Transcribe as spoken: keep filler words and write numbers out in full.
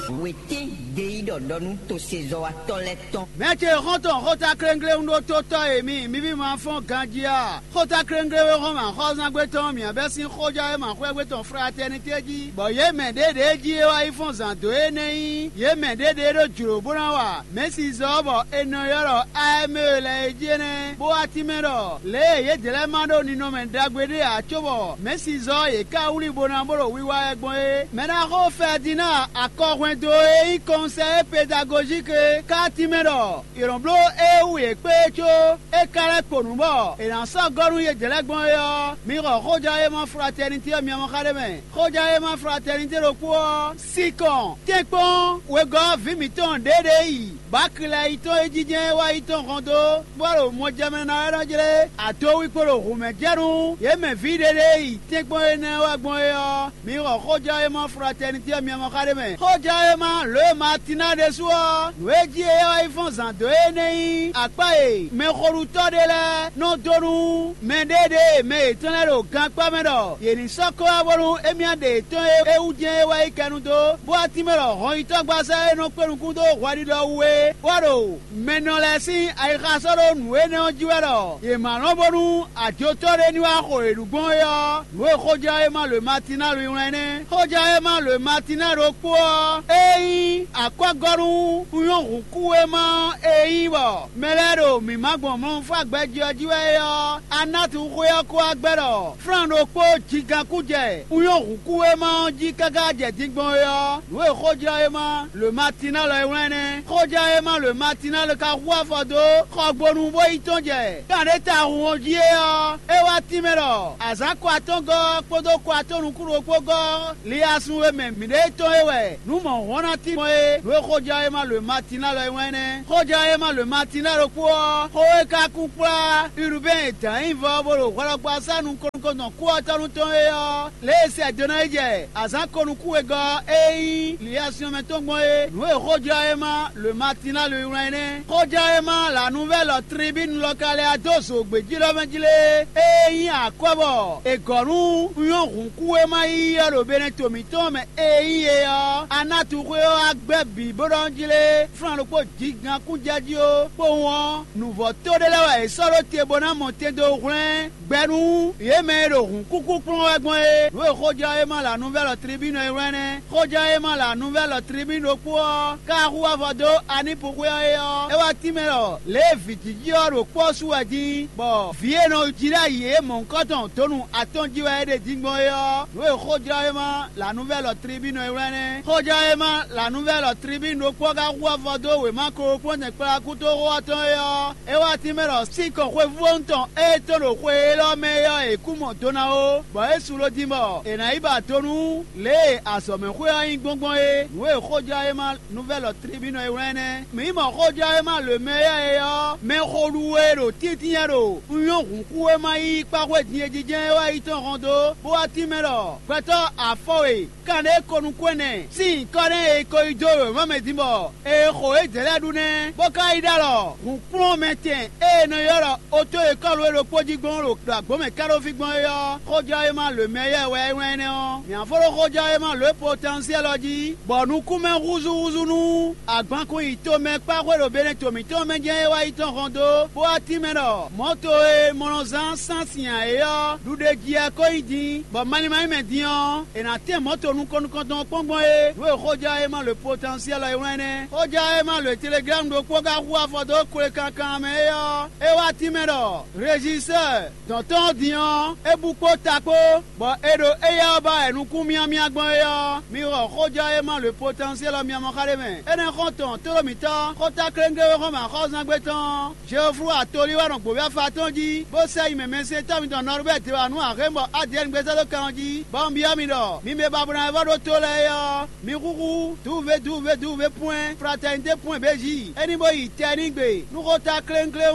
Wětɛ́n ɖe yí ɖɔ ɖɔ nú tosezɔ́watɔ́ lɛ́ɛ tɔn. Mɛ̌ ce xɔ́ntɔn xóta kléŋkléŋ ɖó tó tɔ́ e mi, mi ví ma fɔ́n ganjí a? Xóta kléŋkléŋ e xɔ́n mǎ xɔ́zángbé tɔn mǐ bɛ́ sín xójá e ma xwɛ́gbé tɔn fratɛ́nitɛ́ jí, bɔ yě mɛ ɖěɖě jí é wá yi fɔ́n zǎn dó é nɛ́ nyí yě mɛ ɖěɖě ɖó jlǒ bó ná wa mɛ̌sizɔ́ bɔ è nɔ ylɔ́ ɖɔ A M E lɛ́ɛ é jí é nɛ́, bó wá tínmɛ ɖɔ lě e yědɛɛ lɛ́ɛ ma ɖó ninɔmɛ ɖagbe ɖé ǎ cóbɔ mɛ̌sizɔ́ yě ká wlí bó ná bó ɖo wiwa wɛ gbɔn é. Mɛ ná xo Fɛdinaa akɔhwɛndo e nyí kɔnsɛ́ pedagozík é ká tínmɛ ɖɔ è nɔ bló éewu yě kpé é có é ka lɛ́ kpo nǔ bɔ è nǎ sɔ́ gɔ́ nú yědɛɛ lɛ́ɛ gbɔn é ɔ́, mi xɔ xójɔ́ e ma fratɛ́nitɛ́ ɔ́ miamɔ xá ɖé mɛ. Xójɔ́ e ma fratɛ́nitɛ́ ɖokpó ɔ́, Sikɔn, tɛ́nkpɔ́n wegɔ́ vǐ mǐtɔn ɖěɖě yi Bakilayi tɔn e jínjɛ́n é wá yi tɔn hɔn dó, bó ɖo mɔjɛmɛ ná wɛ nɔ jlé adowí kpo ɖo hǔnmɛjɛ́nú yě mɛ vǐ ɖěɖě yi tɛ́nkpɔ́n énɛ́ wá gbɔn é ɔ́, mi xɔ xójɔ́ e ma fratɛ́nitɛ́ ɔ́ miamɔ xá ɖé mɛ. Xójɔ́ e ma lǒ e Matina ɖésú ɔ́, nǔ e jí é wá yi fɔ́n zǎn dó é nɛ́ nyí akpá e mɛxolutɔ́ ɖé lɛ́ɛ nɔ dó nú mɛ ɖěɖě e mɛ yětɔn lɛ́ɛ ɖo gankpá mɛ ɖɔ yě ní sɔ́ kó wá bónú émí ɖe yětɔn e é wú jɛ́n é wá yi kɛnu dó, bó wá tínmɛ ɖɔ hɔnyitɔ́gbasá e nɔ kpé nukún dó hwɛɖiɖɔ wú é wá ɖo mɛ nɔ lɛ́ɛ sín ayixa sɔ́ ɖó nǔ énɛ́ ɔ́ jí wɛ ɖɔ yě ma lɔn bónú ajotɔ́ ɖé ní wá xo yě ɖu gbɔn é ɔ́, nǔ e xójá e ma lǒ Matina lɔ wlán nɛ́. Xójá e ma lǒ Matina ɖokpó ɔ́, é nyí akwɛ́gɔ́nú nyɔ́ hǔnkúwéma ɔ́ e nyí bɔ mɛ lɛ́ɛ ɖo mǐmá gbɔn mlɔ́nfá gbɛjí ɔ́ jí wɛ é ɔ́, Anatu xwé ɔ́ kó wá gbɛ́ ɖɔ Flán ɖokpó jigán kú jɛ nyɔ́ hǔnkúwéma ɔ́ jí káká jɛ din gbɔn é ɔ́, nǔ e xójá e ma lǒ Matina lɔ é wlán nɛ́. Xójá e ma lǒ Matina lɔ ka hu afɔ dó xɔgbonu bó yi tɔ́n jɛ kan ɖé ta hun ɔ́ jí é ɔ́, é wá tínmɛ ɖɔ azǎn kɔ atɔ́ngɔ́ ɔ́ kpódó kɔ atɔ́ nukún ɖokpó gɔ́ ɔ́, liyasun e mɛ mǐɖée tɔn é wɛ nǔ mɔ̌hɔn ná tín gbɔn é. Nǔ e xójá e ma lǒ Matina lɔ é wlán nɛ́. Xójá e ma lǒ Matina ɖokpó ɔ́, xó e ka kún kplá Urubɛ́n e dǎn nyí vɔ bó ɖo hwɛɖɔgbasá nukɔn nukɔntɔn kú ɔ́ tɔ́ nú tɔn é ɔ́, lě e sɛ do ná yi jɛ azǎn ko nukún wegɔ́ ɔ́ e nyí liyasyɔn mɛ tɔn gbɔn é. Nǔ e xójá e ma lǒ Matina lɔ é wlán nɛ́. Xójá e ma la nuvɛ́lɔ tribínu lɔ ka lɛ́ dó zǒgbéjí lɔ mɛ jí lé, e nyí akwɛ́ bɔ è gɔ̌ nú nyɔ́ hǔnkúwéma yiyi ɔ́ ɖo Benɛto mǐtɔn mɛ e nyí é ɔ́, Anatu xwé ɔ́ wá gbɛ́ bǐ bó ɖɔ jí lé, flán ɖokpó jǐgán kún jɛ jí ó. Kpowun ɔ́, nǔvɔ́ to ɖé lɛ́ɛ wɛ è sɔ́ ɖó te bó ná mɔ tɛn dó hwlɛ́n gbɛ nú yě mɛ e ɖo hǔnkúkú kplɔ́n wɛ gbɔn é. Nǔ e xójá e ma la nuvɛ́lɔ tribínu e wlán nɛ́. Xójá e ma la nuvɛ́lɔ tribínu ɖokpó ɔ́, ka hu avɔ dó Anípu xwé ɔ́ é ɔ́, é wá tínmɛ ɖɔ lě e vǐ jiji ɔ́ ɖo kpɔ́ ɔ́ su wɛ din, bɔ vǐ e nɔ jí ɖ'ayǐ é mɔ̌hunkɔtɔn dǒnu atɔn jí wɛ é ɖe din gbɔn é ɔ́, nǔ e xójá e ma la nuvɛ́lɔ tribínu e wlán nɛ́. Xójá e ma la nuvɛ́lɔ tribínu ɖokpó ɔ́ ka hu avɔ dó wěma kplɔ́nmɛ kplakútoxo ɔ́ tɔn é ɔ́, é wá tínmɛ ɖɔ sín kɔn xwevú ɔ́ tɔn ée tɔn ɖo xwe élɔ́ mɛ é ɔ́, è kú mɔ do ná ó, bɔ é su ló dín bɔ è nǎ yi ba do nú lě e azɔ̌mɛxwé ɔ́ nyí gbɔngbɔn é. Nǔ e xójá e ma nuvɛ́lɔ tribínu e wlán nɛ́. Mǐ mɔ xójá e ma lǒ mɛ éyɛ́ é ɔ́, mɛxolu e ɖo tíntínyɛ́ ɖo un nyɔ́ hǔnkúwéma yíyí kpá xwé din e jijɛ é wá yi tɔn hɔn dó, bó wá tínmɛ ɖɔ gbɛtɔ́ afɔ e kanɖé ko nukún ɛnɛ sín nyǐkɔ nɛ́ e ko yi dó wěma mɛ din bɔ è xo yědɛɛ lɛ́ɛ ɖu nɛ́, bó ka yi ɖ'alɔ hǔnkplɔ́nmɛtɛn e è nɔ ylɔ́ ɖɔ oto e kɔ́lu é ɖokpó jí gbɔn ɖo ɖo agbǒmɛ káɖóví gbɔn é ɔ́, xójɔ́ e ma lǒ mɛ yɛ wɛ é wlán énɛ́ ɔ́. Mǐ fó ɖó xójɔ́ e ma lǒ e potansiɛ́l ɔ́ jí, bɔ nukúnmɛ húzúhúzú nú agbankun yi tomɛ kpá xwé ɖo Benɛto mǐtɔn mɛ jɛ́n é wá yi tɔn hɔn dó, bó wá tínmɛ ɖɔ mɔ̌to e mɔ nɔ zán sán sin ǎ é ɔ́, ɖuɖeji wɛ ko nyí din, bɔ malín ma nyí mɛ din ɔ́, è nǎ tɛ́n mɔ̌to nukɔn nukɔntɔn ɔ́ kpɔ́n gbɔn é. Nǔ e xójá e ma lǒ potansiɛ́l ɔ́ é wlán nɛ́. Xójá e ma lǒ e Teleglámu ɖokpó ka hu afɔ dó kle kankan mɛ é ɔ́, é wá tínmɛ ɖɔ Rezisɛ́ɛ dɔ̌n tɔn ɔ́ din ɔ́, é bú kpó ta kpó, bɔ è ɖo éyɛ́ ɔ́ ba wɛ nukún myámyá gbɔn é ɔ́, mi xɔ xójɔ́ e ma lǒ potansiɛ́l ɔ́ myamɔ xá ɖé mɛ. Énɛ́ xɔ́ntɔn tlóló mǐtɔn, xóta kléŋgléwéxɔ́mɛ axɔ́zángbé tɔn, Jeoflu atolí wɛ nɔ gbǒví afa tɔn jí, bó sɛ yi mɛ mɛsɛntɔ́ mitɔn Nɔrubɛ́ de wǎ nú Axému bɔ Adiyɛ́ɛn gbézɔ́ dó kan ɔ́ jí, bɔ un byɔ́ mi ɖɔ mi mɛ ba bo ná vɔ́ ɖó tó lɛ́ɛ é ɔ́, mi húhú duve duve duve pwɛ́n fratɛnité pwɛ́n bějí, é ní bó yi tɛ n'i gbe nú xóta kléŋkléŋ